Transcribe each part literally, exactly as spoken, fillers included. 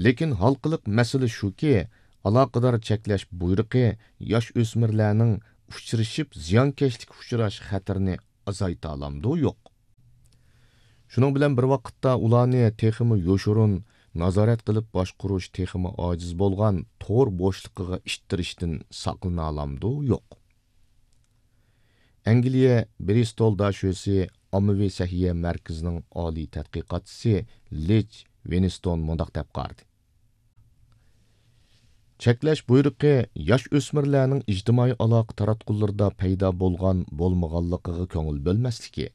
لېكىن ھالقىلىق مەسىلە شۇكى، ئالاقىدار چەكلەش بۇيرۇقى ياش ئۆسمۈرلەرنىڭ ئۇچرىشىپ زىيانكەشلىككە ئۇچراش خەتىرىنى ئازايتالامدۇ، يوق؟ شۇنىڭ بىلەن بىر ۋاقىتتا، ئۇلارنى تېخىمۇ يوشۇرۇن نازارەت قىلىپ باشقۇرۇش تېخىمۇ ئاجىز بولغان تور بوشلۇقىغا ئىتتىرىشتىن ساقلىنالامدۇ، يوق؟ ئەنگلىيە برىستول داشۆسى ئاممىۋى سەھىيە مەركىزىنىڭ ئالىي تەتقىقاتچىسى لىچ ۋىنستون مۇنداق دەپ قارىدى: چەكلەش بۇيرۇقى ياش ئۆسمۈرلەرنىڭ ئىجتىمائىي ئالاقە تاراتقۇلىرىدا پەيدا بولغان بولمىغانلىقىغا كۆڭۈل بۆلمەسلىكى،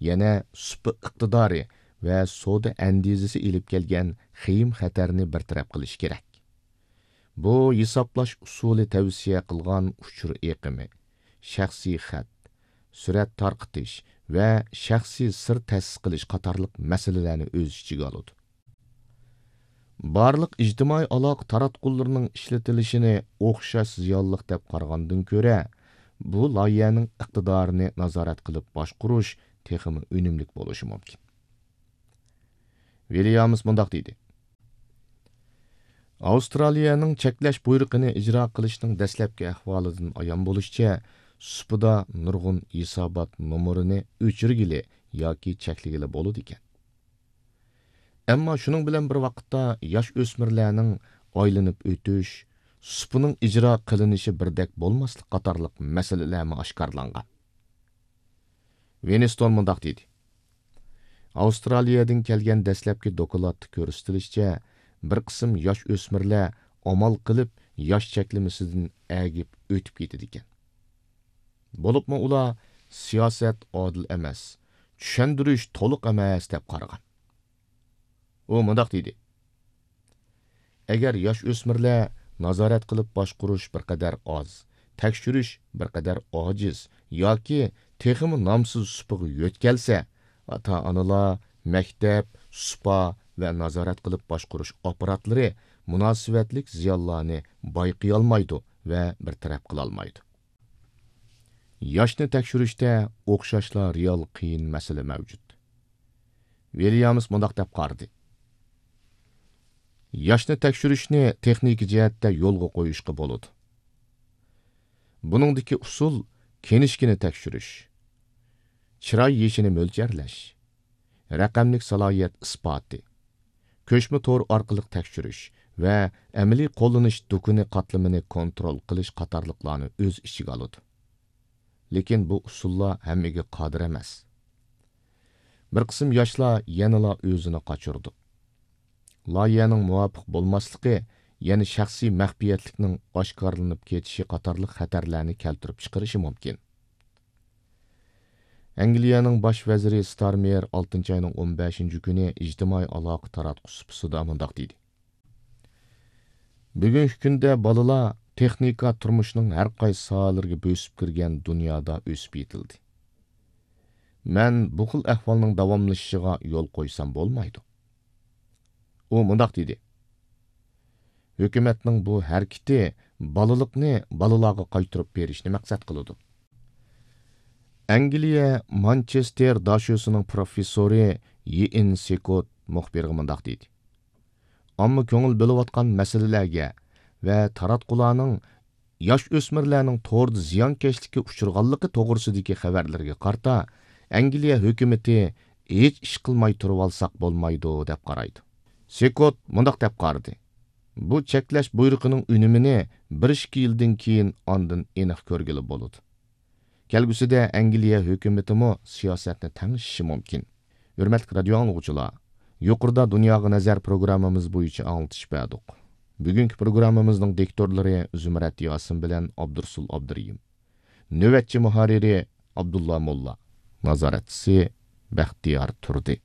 يەنە سۇپا ئىقتىدارى ۋە سودا ئەندىزىسى ئېلىپ كەلگەن خېيىم خەتەرنى بىر تەرەپ قىلىش كېرەك. بۇ ھېسابلاش ئۇسۇلى تەۋسىيە قىلغان ئۇچۇر ئېقىمى، شەخسىي خەت، سۈرەت تارقىتىش ۋە شەخسىي سىر تەسىس قىلىش قاتارلىق مەسىلىلەرنى ئۆز ئىچىگە ئالىدۇ. بارلىق ئىجتىمائىي ئالاقە تاراتقۇلىرىنىڭ ئىشلىتىلىشىنى ئوخشاش زىيانلىق دەپ قارىغاندىن كۆرە، بۇ لايىھەنىڭ ئىقتىدارىنى نازارەت قىلىپ باشقۇرۇش تېخىمۇ ئۈنۈملۈك بولۇشى مۇمكىن. ۋىليامس مۇنداق دېدى: ئاۋسترالىيەنىڭ چەكلەش بۇيرۇقىنى ئىجرا قىلىشنىڭ دەسلەپكى ئەھۋالىدىن ئايان بولۇشىچە، سۇپىدا نۇرغۇن ھېسابات نومۇرىنى ئۆچۈرگىلى ياكى چەكلىگىلى بولىدىكەن. ئەمما شۇنىڭ بىلەن بىر ۋاقىتتا، ياش ئۆسمۈرلەرنىڭ ئايلىنىپ ئۆتۈش، سۇپىنىڭ ئىجرا قىلىنىشى بىردەك بولماسلىق قاتارلىق مەسىلىلەرمۇ ئاشكارىلانغان. ۋىنستون مۇنداق دېدى: ئاۋسترالىيەدىن كەلگەن دەسلەپكى دوكلاتتا كۆرسىتىلىشىچە، بىر قىسىم ياش ئۆسمۈرلەر ئامال قىلىپ ياش چەكلىمىسىدىن ئەگىپ ئۆتۈپ كېتىدىكەن. بولۇپمۇ ئۇلار سىياسەت ئادىل ئەمەس، چۈشەندۈرۈش تولۇق ئەمەس دەپ قارىغان. ئۇ مۇنداق دېدى: ئەگەر ياش ئۆسمۈرلەر نازارەت قىلىپ باشقۇرۇش بىر قەدەر ئاز، تەكشۈرۈش بىر قەدەر ئاجىز ياكى تېخىمۇ نامسىز سۇپىغا يۆتكەلسە، ئاتا-ئانىلار، مەكتەپ، سۇپا ۋە نازارەت قىلىپ باشقۇرۇش ئاپپاراتلىرى مۇناسىۋەتلىك زىيانلارنى بايقىيالمايدۇ ۋە بىر تەرەپ قىلالمايدۇ. ياشنى تەكشۈرۈشتە ئوخشاشلا رېئال قىيىن مەسىلە مەۋجۇت. ۋىليامس مۇنداق دەپ قارىدى: ياشنى تەكشۈرۈشنى تېخنىكا جەھەتتە يولغا قويۇشقا بولىدۇ. بۇنىڭدىكى ئۇسۇل كىنىشكىنى تەكشۈرۈش، چىراي يېشىنى مۆلچەرلەش، رەقەملىك سالاھىيەت ئىسپاتى، كۆچمە تور ئارقىلىق تەكشۈرۈش ۋە ئەمەلىي قوللىنىش دۇكىنى قاتلىمىنى كونترول قىلىش قاتارلىقلارنى ئۆز ئىچىگە ئالىدۇ. لېكىن بۇ ئۇسۇللار ھەممىگە قادىر ئەمەس. بىر قىسىم ياشلار يەنىلا ئۆزىنى قاچۇرىدۇ. لايىھەنىڭ مۇۋاپىق بولماسلىقى يەنە شەخسىي مەخپىيەتلىكنىڭ ئاشكارىلىنىپ كېتىشى قاتارلىق خەتەرلەرنى كەلتۈرۈپ چىقىرىشى مۇمكىن. ئەنگلىيەنىڭ باش ۋەزىرى ستارمېر ئالتىنچى ئاينىڭ ئون بەشىنچى كۈنى ئىجتىمائىي ئالاقە تاراتقۇ سۇپىسىدا مۇنداق دېدى: بۈگۈنكى كۈندە بالىلار تېخنىكا تۇرمۇشنىڭ ھەر قايسى ساھەلىرىگە بۆسۈپ كىرگەن دۇنيادا ئۆسۈپ يېتىلدى. مەن بۇ خىل ئەھۋالنىڭ داۋاملىشىشىغا يول قويسام بولمايدۇ. ئۇ مۇنداق دېدى: ھۆكۈمەتنىڭ بۇ ھەرىكىتى بالىلىقنى بالىلارغا قايتۇرۇپ بېرىشنى مەقسەت قىلىدۇ. ئەنگلىيە مانچېستېر داشۆسىنىڭ پروفېسسورى يىئېن سېكوت مۇخبىرغا مۇنداق دېدى: ئامما كۆڭۈل بۆلۈۋاتقان مەسىلىلەرگە ۋە تاراتقۇلارنىڭ ياش ئۆسمۈرلەرنىڭ توردا زىيانكەشلىككە ئۇچرىغانلىقى توغرىسىدىكى خەۋەرلەرگە قارىتا، ئەنگلىيە ھۆكۈمىتى ھېچ ئىش قىلماي تۇرۇۋالساق بولمايدۇ، دەپ قارايدۇ. سېكوت مۇنداق دەپ قارىدى: بۇ چەكلەش بۇيرۇقىنىڭ ئۈنۈمىنى بىر ئىككى يىلدىن كېيىن ئاندىن ئېنىق كۆرگىلى بولىدۇ. كەلگۈسىدە ئەنگلىيە ھۆكۈمىتىمۇ سىياسەتنى تەڭشىشى مۇمكىن. ھۆرمەتلىك رادىيو ئاڭلىغۇچىلار، يۇقىرىدا دۇنياغا نەزەر پروگراممىمىز بويىچە ئاڭلىتىش بەردۇق. بۈگۈنكى پروگراممىمىزنىڭ دىكتورلىرى زۇمرەت ياسىن بىلەن ئابدۇرسۇل ئابدۇرېھىم. نۆۋەتچى مۇھەررىرى ئابدۇللا موللا. نازارەتچىسى بەختىيار تۇردى.